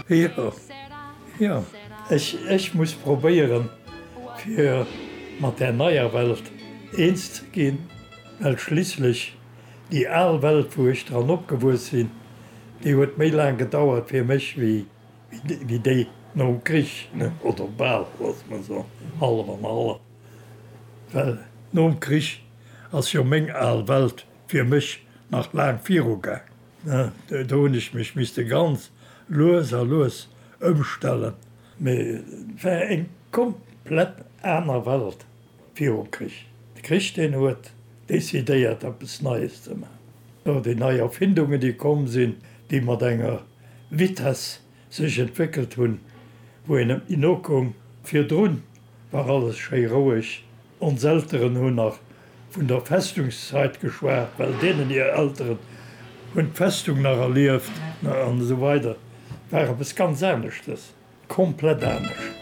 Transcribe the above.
Jo, jo. Ech, ech muss probéieren, fir mat där neier Welt eens ze ginn, well schliisslech déi al Welt, wou ech dran opgewuess sinn, déi huet méi laang gedauert fir mech wéi, wéi déi nom Krich, oder bal, loosse mer soen, hallef an hallef. Well nom Krich ass jo meng al Welt fir mech nach laang virugaang. Do hunn ech mech misste ganz lues a lues ëmstellen. Mee et war eng komplett aner Welt virum Krich. De Krich, deen huet decidéiert, eppes Neies ze maachen. Déi nei Erfindungen, déi komm sinn, déi mat enger Vitesse sech entwéckelt hunn, wou een net méi nokoum. Virdrun war alles schéi roueg. Ons Elteren hunn nach vun der Festungszeit geschwat, well deenen hir Elteren hunn d'Festung nach erlieft an esou weider. War eppes ganz aneschtes, komplett anescht.